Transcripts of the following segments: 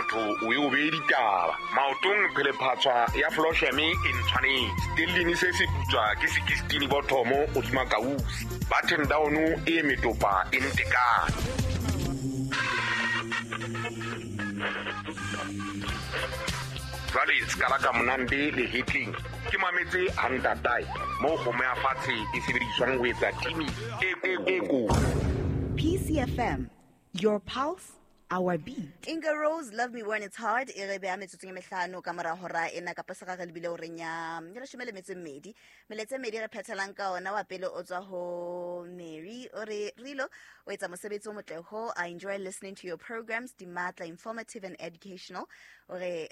Batho o e o bee ditaba. Maotong phelephatshwa ya Flosheme e ntshwanetse. Stellini se se putswa ke 16 bothomo godima kausi. Button down e metopa e ntekane. Jwale se ka monande lehetleng ke mametse hantatae moo kgomo ya fatshe e sebediswang ho etsa timi e ko. PCFM, your pulse, our beat. Inga Rose, Love Me When It's Hard, e re beha metsotsong e mehlano ka mora hora ena kapa se re lebile horeng ya 12. Meletsa e medi re phethelang ka ona wa pele o tswa ho Mary o re Rilo o etsa mosebetsi o motle ho. I enjoy listening to your programs, di matla, informative and educational. O re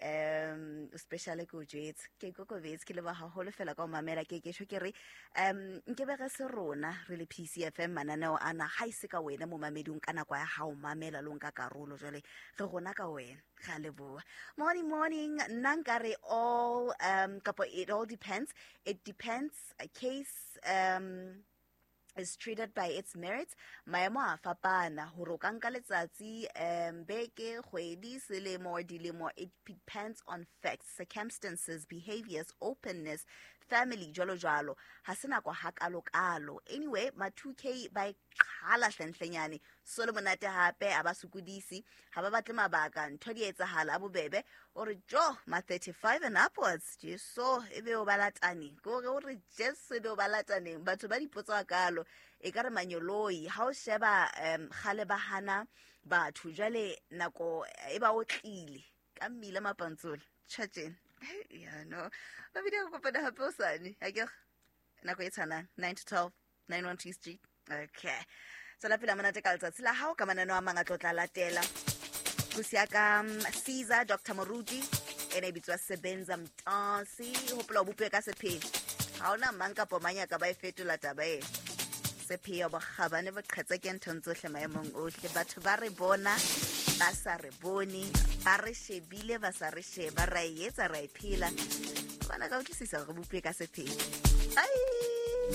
o special ke o jwetse, ke ikokobetse, ke leboha haholo fela ka o mamela. Ke ke tjho ke re nke be re se rona re le PCFM mananeo ana ha ise ka wena momameding ka nako ya hao mamela lo nka karolo, jwale re rona ka wena, re a leboha. Morning, morning, nna nka re all kapo it all depends, it depends, a case is treated by its merits. Maemo a fapana hore o ka nka letsatsi, beke, kgwedi, selemo, dilemo. It depends on facts, circumstances, behaviors, openness, family, jwalo jwalo. Ha se nako ha kalo kalo. Anyway, ma 2K ba e qhala hlenhlenyane. So le monate hape a ba sokodise, ha ba batle mabaka, ntho di etsahala a bobebe. O re jo ma 35 and upwards, Jesu e be o ba latane. Ke hore o re Jesu e be o ba lataneng. Batho ba dipotso kalo e ka re manyoloi ha o sheba kgale ba hana batho, jwale nako e ba o tlile ka mmila mapantsola tjhatjeng. Ya no ba bile go kopana hape o sane ha ke nako e tshwanang 9 to 12 912 Street. Okay, tswela pele monate ka letsatsi la hao ka mananeo a mang a tlo tla latela. Pusi ya ka Caesar Dr. Moruti ene e bitswa Sebenza Mtasi. Hopola o bopwe ka sepheo, ha hona mang kapo mang ya ka ba e fetola taba e. Sepheo bokgabane bo qhetse ke nthong tsohle maemong ohle. Batho ba re bona ba sa re bone, ba re shebile ba sa re sheba, ra e etsa ra e phela. Bana ka utlwisisa hore re bopwe ka sepheo. Ai!